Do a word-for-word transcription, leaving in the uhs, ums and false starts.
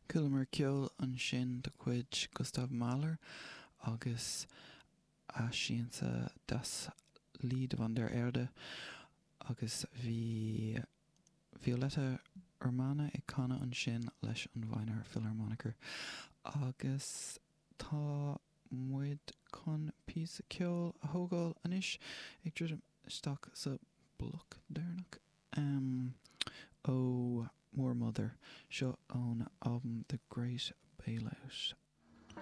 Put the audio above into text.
Chualamar ceol ansin de chuid Gustav Mahler agus a siansa Das Lied von der Erde agus bhí Violeta Urmana ag canadh ansin leis an Wiener Philharmoniker agus tá muid chun píosa ceoil a thógáil anois ag druidim isteach sa bloc deireanach um, ó Moor Mother seo ón album The Great Bailout.